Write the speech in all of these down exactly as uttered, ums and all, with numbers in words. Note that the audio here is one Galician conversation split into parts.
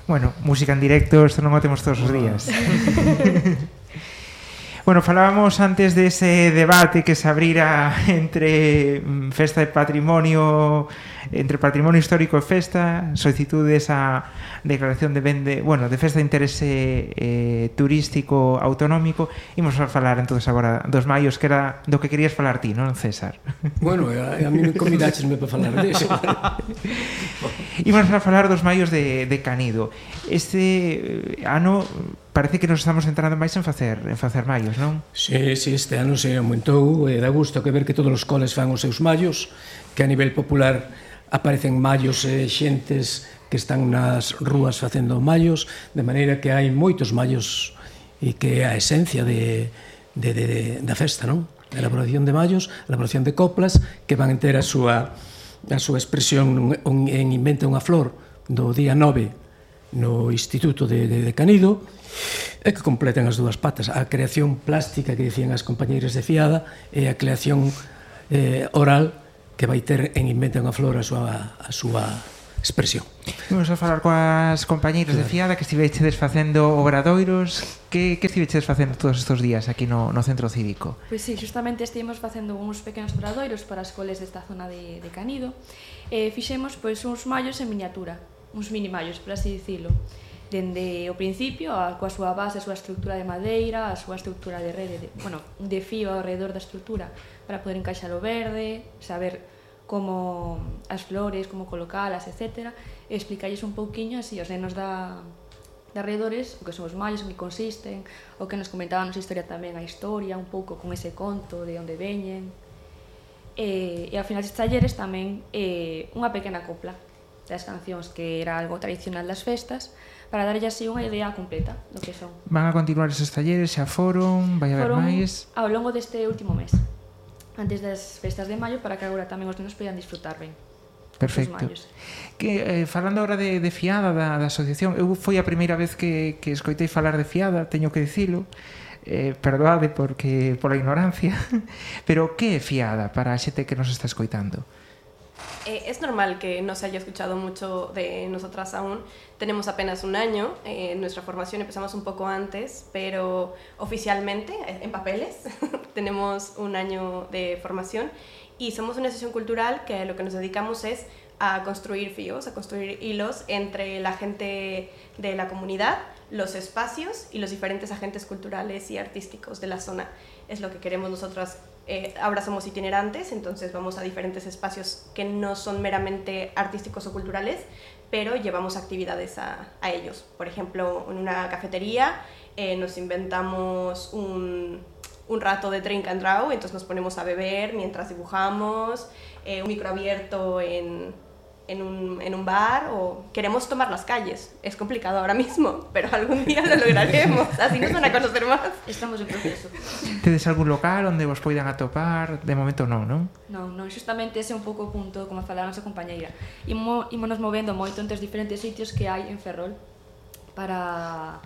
Bueno, música en directo, isto non o temos todos os días. Bueno, falábamos antes dese debate que se abrira entre festa de patrimonio, entre patrimonio histórico e festa, solicitudes a declaración de ben de, bueno, de festa de interese eh, turístico autonómico. Imos a falar entonces agora dos maios, que era do que querías falar ti, non, César? Bueno, a, a mí me convidachesme para falar disso. Imos a falar dos maios de, de Canido. Este ano parece que nos estamos centrando máis en facer en facer maios, non? Sí, sí, este ano se aumentou e dá gusto que ver que todos os coles fan os seus maios, que a nivel popular aparecen maios e xentes que están nas rúas facendo maios, de maneira que hai moitos maios e que é a esencia de, de, de, de, da festa, non? A elaboración de maios, a elaboración de coplas que van ter a súa, a súa expresión en Inventa unha Flor do día nove no Instituto de, de, de Canido, e que completan as dúas patas, a creación plástica que dicían as compañeiras de Fiada e a creación eh, oral que vai ter en Inventa unha Flor a súa, a súa expresión. Vamos a falar coas compañeiras de Fiada que estivechedes facendo obradoiros. Que, que estivechedes facendo todos estes días aquí no, no centro cívico? Pois sí, justamente estivemos facendo uns pequenos obradoiros para as coles desta zona de, de Canido e fixemos pois uns mallos en miniatura, uns mini mallos, por así dicilo, dende o principio, a, coa súa base, a súa estructura de madeira, a súa estructura de rede, de, bueno, de fío alrededor da estructura para poder encaixar o verde, saber como as flores, como colocalas, etcétera, e explicarles un pouquiño así aos nenos da, de arredores o que son os mallos, o que consisten, o que nos comentaban nosa historia tamén, a historia, un pouco con ese conto de onde veñen. E, e ao final destes talleres tamén eh, unha pequena copla das cancións que era algo tradicional das festas, para darlle así unha idea completa do que son. Van a continuar esos talleres, xa foron, vai haber máis? Ao longo deste último mes, antes das festas de maio, para que agora tamén os nenos poidan disfrutar ben. Perfecto. Que, eh, falando agora de, de Fiada, da, da asociación, eu foi a primeira vez que, que escoitei falar de Fiada, teño que dicilo, eh, perdoade porque pola ignorancia, pero que é Fiada para a xente que nos está escoitando? Eh, es normal que no se haya escuchado mucho de nosotras aún. Tenemos apenas un año, eh, nuestra formación empezamos un poco antes, pero oficialmente, en papeles, tenemos un año de formación y somos una asociación cultural que lo que nos dedicamos es a construir fíos, a construir hilos entre la gente de la comunidad, los espacios y los diferentes agentes culturales y artísticos de la zona. Es lo que queremos nosotras. Eh, ahora somos itinerantes, entonces vamos a diferentes espacios que no son meramente artísticos o culturales, pero llevamos actividades a, a ellos. Por ejemplo, en una cafetería eh, nos inventamos un, un rato de drink and draw, entonces nos ponemos a beber mientras dibujamos, eh, un micro abierto en, en, un, en un bar, o queremos tomar las calles. Es complicado ahora mismo, pero algún día lo lograremos, así nos van a conocer más. Estamos en proceso. Tedes algún local onde vos poidan atopar? De momento non, non? Non, non, justamente ese é un pouco o punto, como falaba a nosa compañeira. Imo, ímonos movendo moito entre os diferentes sitios que hai en Ferrol para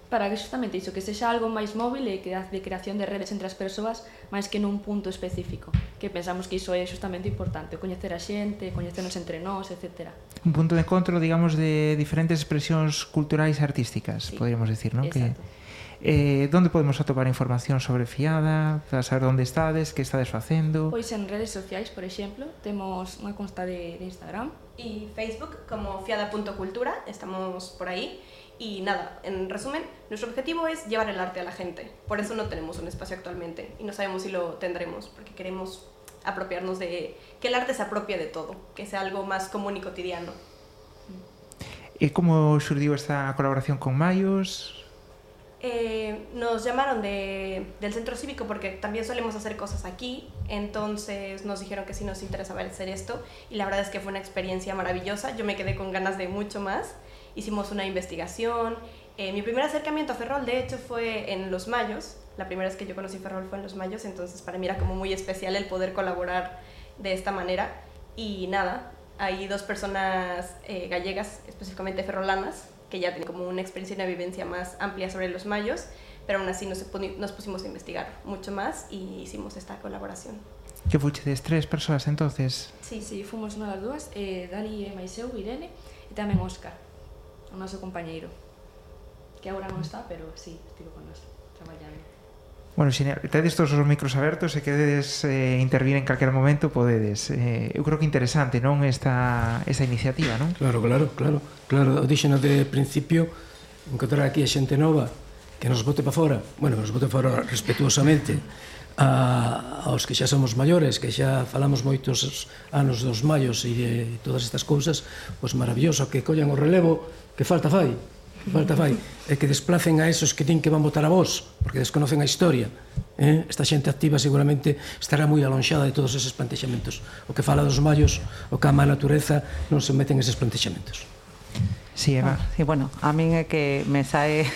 para que justamente iso, que sexa algo máis móvil e que de creación de redes entre as persoas máis que nun punto específico, que pensamos que iso é justamente importante, coñecer a xente, coñecernos entre nós, etcétera. Un punto de encontro, digamos, de diferentes expresións culturais e artísticas, sí, podríamos decir, non? Que eh, donde podemos atopar información sobre Fiada, para saber onde estades, que estades facendo? Pois en redes sociais, por exemplo, temos unha consta de, de Instagram y Facebook como fiada punto cultura, estamos por ahí. Y nada, en resumen, nuestro objetivo es llevar el arte a la gente. Por eso no tenemos un espacio actualmente y no sabemos si lo tendremos, porque queremos apropiarnos de... que el arte se apropie de todo, que sea algo más común y cotidiano. ¿Y cómo surgió esta colaboración con Mayos? Eh, nos llamaron de, del centro cívico porque también solemos hacer cosas aquí, entonces nos dijeron que sí nos interesaba hacer esto y la verdad es que fue una experiencia maravillosa. Yo me quedé con ganas de mucho más. Hicimos una investigación. Eh, mi primer acercamiento a Ferrol, de hecho, fue en Los Mayos. La primera vez que yo conocí Ferrol fue en Los Mayos, entonces para mí era como muy especial el poder colaborar de esta manera. Y nada, hay dos personas eh, gallegas, específicamente ferrolanas, que ya tienen como una experiencia y una vivencia más amplia sobre Los Mayos, pero aún así nos, nos pusimos a investigar mucho más y hicimos esta colaboración. Que fuchedes tres persoas entonces? Sí, sí, fomos nós dúas, eh, Dali e máis eu, Irene, e tamén Óscar, o noso compañeiro, que agora non está, pero sí, estivo con nós traballando. Bueno, se tedes todos os micros abertos e queredes eh, intervir en calquer momento, podedes. Eh, eu creo que interesante, non, esta, esta iniciativa, non? Claro, claro, claro. Claro, o dixeno de principio, encontrar aquí a xente nova que nos bote para fora, bueno, nos bote fora respetuosamente, a, aos que xa somos maiores, que xa falamos moitos anos dos mallos e de todas estas cousas, pois maravilloso, que collan o relevo, que falta fai, que falta fai, e que desplacen a esos que din que van votar a vos, porque desconocen a historia. Eh? Esta xente activa seguramente estará moi alonxada de todos eses plantexamentos. O que fala dos mallos, o que ama a natureza, non se meten eses plantexamentos. Sí, Eva. Sí, bueno, a min é que me sae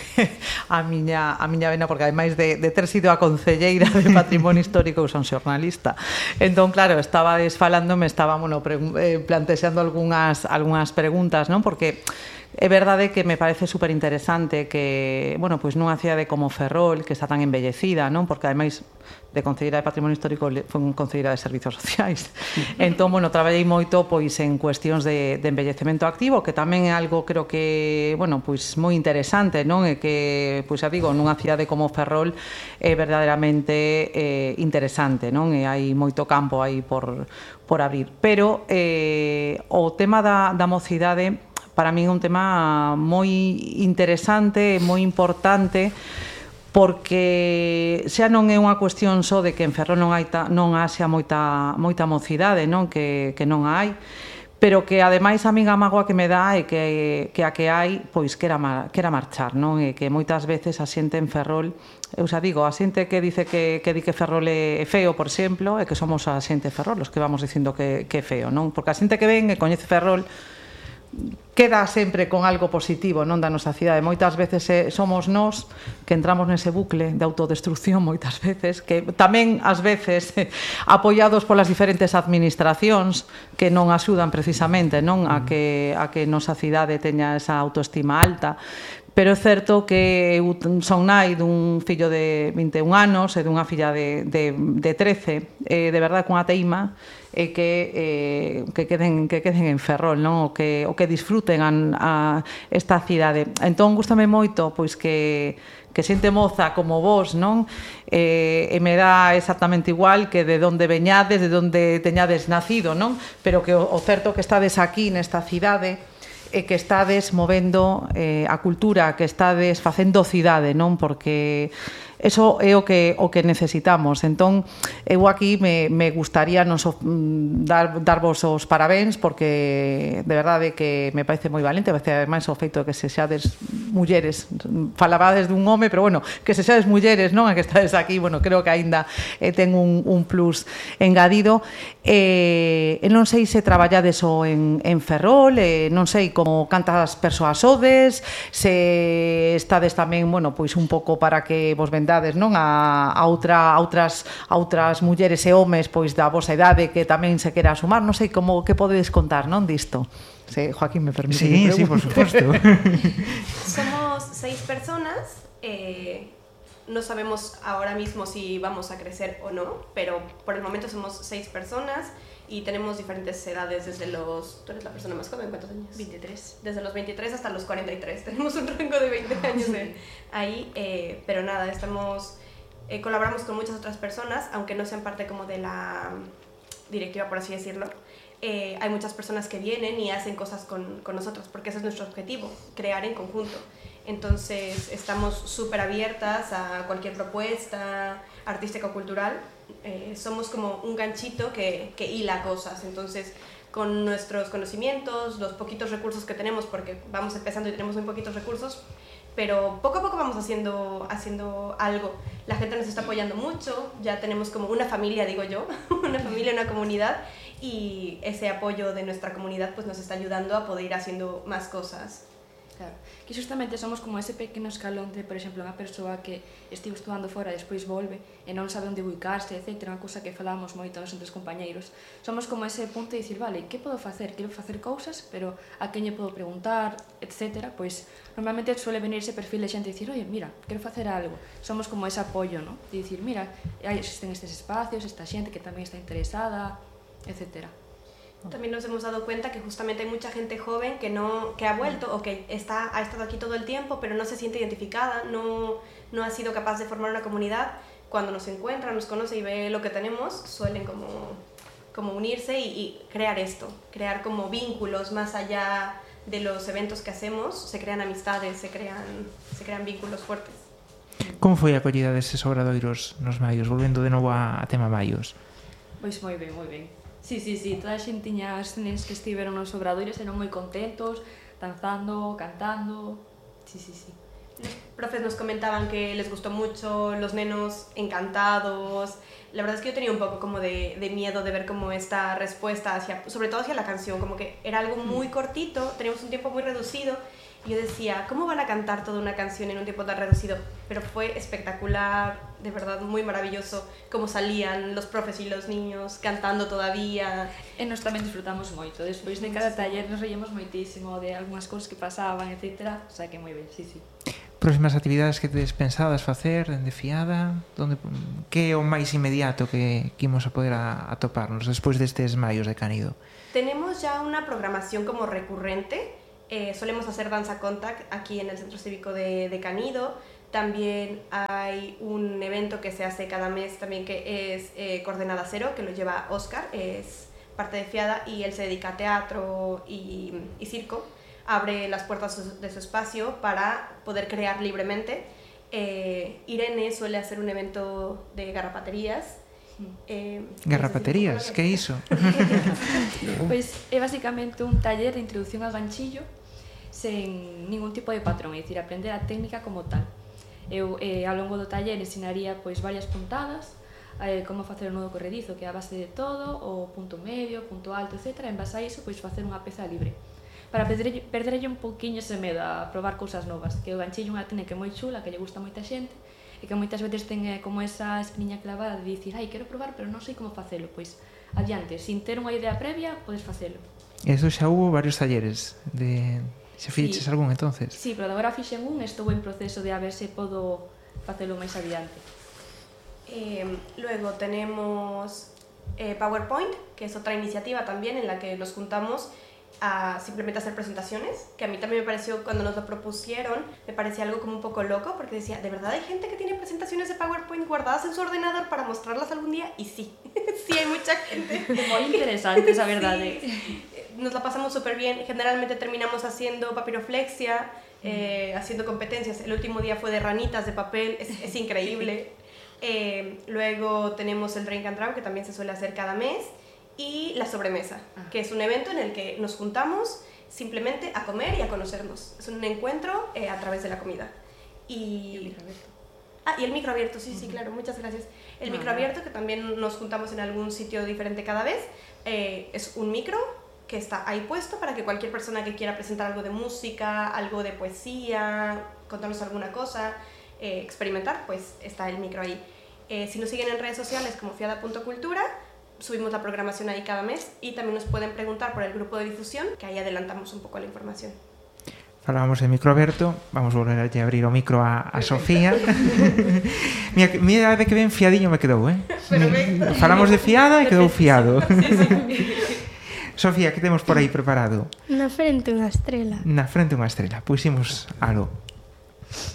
a miña, a miña vena, porque ademais de, de ter sido a concelleira de Patrimonio Histórico, eu son xornalista. Entón, claro, estaba desfalando, me estaba, bueno, pre, eh, plantexando algunhas, algunhas preguntas, non? Porque é verdade que me parece super interesante que, bueno, pois nunha cidade como Ferrol, que está tan embellecida, non? Porque ademais de concelleira de Patrimonio Histórico foi un concelleira de Servizos Sociais. Entón, bueno, traballei moito pois en cuestións de, de embellecemento activo, que tamén é algo, creo que, bueno, pois moi interesante, non? E que, pois xa digo, nunha cidade como Ferrol é verdadeiramente eh, interesante, non? E hai moito campo aí por, por abrir. Pero eh, o tema da, da mocidade para min é un tema moi interesante, moi importante, porque xa non é unha cuestión só de que en Ferrol non hai ta, non haxa moita moita mocidade, non, que que non hai, pero que ademais a min a mágoa que me dá é que que a que hai, pois quera mar, quera marchar, non? E que moitas veces a xente en Ferrol, eu xa digo, a xente que dice que que di que Ferrol é feo, por exemplo, é que somos a xente de Ferrol os que vamos dicindo que que é feo, non? Porque a xente que ven e coñece Ferrol queda sempre con algo positivo, non, da nosa cidade. Moitas veces eh, somos nós que entramos nese bucle de autodestrucción, moitas veces, que tamén ás veces eh, apoiados polas diferentes administracións que non axudan precisamente, non, a que a que nosa cidade teña esa autoestima alta. Pero é certo que eu son nai dun fillo de vinte e un anos e dunha filla de, de, de trece, e de verdade cunha teima e que eh, que queden que queden en Ferrol, non? O que o que disfruten a, a esta cidade. Entón gústame moito pois que que xente moza como vos, non? Eh, e me dá exactamente igual que de onde veñades, de onde teñades nacido, non? Pero que o, o certo que estades aquí nesta cidade e que estades movendo eh, a cultura, que estades facendo cidade, non? Porque eso é o que o que necesitamos. Entón, eu aquí me, me gustaría nos dar, darvos os parabéns, porque de verdade que me parece moi valente, ademais o feito de que se xades mulleres, falabades dun home, pero bueno, que se xades mulleres, non? A que estades aquí, bueno, creo que aínda eh, ten un, un plus engadido. Eh, non sei se traballades o en, en Ferrol, eh, non sei como cantas persoas sodes, se estades tamén, bueno, pois un pouco para que vos vendades, non, a, a, outra, a outras a outras mulleres e homes pois da vosa idade que tamén se quera sumar, non sei como que podedes contar, non, disto. Se Joaquín me permite. Sí, sí, por supuesto. Somos seis personas, eh no sabemos ahora mismo si vamos a crecer o no, pero por el momento somos seis personas y tenemos diferentes edades desde los... ¿Tú eres la persona más joven? ¿Cuántos años? veintitrés. Desde los veintitrés hasta los cuarenta y tres. Tenemos un rango de veinte años de ahí, eh, pero nada, estamos... Eh, colaboramos con muchas otras personas, aunque no sean parte como de la directiva, por así decirlo. Eh, hay muchas personas que vienen y hacen cosas con, con nosotros, porque ese es nuestro objetivo, crear en conjunto. Entonces estamos súper abiertas a cualquier propuesta artística o cultural. Eh, somos como un ganchito que, que hila cosas. Entonces, con nuestros conocimientos, los poquitos recursos que tenemos, porque vamos empezando y tenemos muy poquitos recursos, pero poco a poco vamos haciendo, haciendo algo. La gente nos está apoyando mucho, ya tenemos como una familia, digo yo, una familia, una comunidad, y ese apoyo de nuestra comunidad pues nos está ayudando a poder ir haciendo más cosas. Claro, que justamente somos como ese pequeno escalón de, por exemplo, unha persoa que estivo estudando fora e despois volve e non sabe onde ubicarse, etcétera, unha cousa que falábamos moito nos entre os compañeiros. Somos como ese punto de dicir, vale, que podo facer? Quero facer cousas, pero a quen lle podo preguntar, etcétera. Pois normalmente suele venir ese perfil de xente e dicir, oye, mira, quero facer algo. Somos como ese apoio, ¿no? De dicir, mira, existen estes espacios, esta xente que tamén está interesada, etcétera. También nos hemos dado cuenta que justamente hay mucha gente joven que, no, que ha vuelto o que está, ha estado aquí todo el tiempo, pero no se siente identificada, no, no ha sido capaz de formar una comunidad. Cuando nos encuentra, nos conoce y ve lo que tenemos, suelen como, como unirse y, y crear esto, crear como vínculos más allá de los eventos que hacemos, se crean amistades, se crean, se crean vínculos fuertes. Como foi a acollida deses obradoiros nos maios, volvendo de novo a, a tema maios? Pois moi ben, moi ben. Sí, sí, sí, toda a xentiña, as nenes que estiveron nos obradoiros eran moi contentos, danzando, cantando, sí, sí, sí. Los profes nos comentaban que les gustó mucho, los nenos encantados. La verdad es que yo tenía un poco como de, de miedo de ver como esta respuesta, hacia, sobre todo hacia la canción, como que era algo muy cortito, teníamos un tiempo muy reducido. Y yo decía, ¿cómo van a cantar toda una canción en un tiempo tan reducido? Pero fue espectacular, de verdad, muy maravilloso cómo salían los profes y los niños cantando todavía. E nos tamén disfrutamos moito, despois de cada taller nos reíamos moitísimo de algunhas cousas que pasaban, etcétera, o sea que moi ben, sí, sí. Próximas actividades que tedes pensadas facer dende Fiada? Donde, que é o máis inmediato que, que imos a poder a, a toparnos despois destes maios de Canido? Tenemos ya una programación como recurrente. Eh, solemos hacer Danza Contact aquí en el Centro Cívico de, de Canido. También hay un evento que se hace cada mes también que es eh, Coordenada Cero, que lo lleva Óscar, es parte de Fiada y él se dedica a teatro y, y circo. Abre las puertas de su espacio para poder crear libremente. Eh, Irene suele hacer un evento de garrapaterías. Eh, Garrapaterías, que é iso? Pois é basicamente un taller de introducción ao ganchillo sen ningún tipo de patrón, é dicir, aprender a técnica como tal. Eu eh, ao longo do taller ensinaría pois varias puntadas, eh, como facer o nudo corredizo, que é a base de todo, o punto medio, punto alto, etcétera. En base a iso, pois facer unha peza libre. Para perderlle, perderlle un pouquiño ese medo a probar cousas novas, que o ganchillo é unha técnica moi chula, que lle gusta a moita xente, e que moitas veces ten eh, como esa espiña clavada de dicir, ai, quero probar, pero non sei como facelo. Pois, adiante, sin ter unha idea previa, podes facelo. Eso xa hubo varios talleres de... Se fixeches sí. algún entonces? Sí, pero agora fixen un, estou en proceso de a ver se podo facelo máis adiante. Eh, luego tenemos eh, PowerPoint, que es otra iniciativa también en la que nos juntamos a simplemente hacer presentaciones, que a mí también me pareció, cuando nos lo propusieron, me parecía algo como un poco loco, porque decía, ¿de verdad hay gente que tiene presentaciones de PowerPoint guardadas en su ordenador para mostrarlas algún día? Y sí, sí hay mucha gente. Muy interesante, esa verdad. Sí. Nos la pasamos súper bien, generalmente terminamos haciendo papiroflexia, eh, haciendo competencias. El último día fue de ranitas de papel, es, es increíble. Eh, luego tenemos el Drink and Draw, que también se suele hacer cada mes, y la sobremesa, ah. que es un evento en el que nos juntamos simplemente a comer y a conocernos. Es un encuentro eh, a través de la comida. Y... y el micro abierto. Ah, y el micro abierto, sí, uh-huh. sí, claro, muchas gracias. El ah, micro abierto, que también nos juntamos en algún sitio diferente cada vez, eh, es un micro que está ahí puesto para que cualquier persona que quiera presentar algo de música, algo de poesía, contarnos alguna cosa, eh, experimentar, pues está el micro ahí. Eh, si nos siguen en redes sociales como fiada punto cultura, subimos la programación ahí cada mes y también nos pueden preguntar por el grupo de difusión, que ahí adelantamos un poco la información. Falábamos de micro aberto, vamos volver a abrir o micro a, a Sofía. mira, mira de que ben fiadiño me quedou, eh? Pero me... Falamos de fiada e quedou fiado. Sí, sí. Sofía, que temos por aí preparado? Na frente unha estrela. Na frente unha estrela, pois imos algo.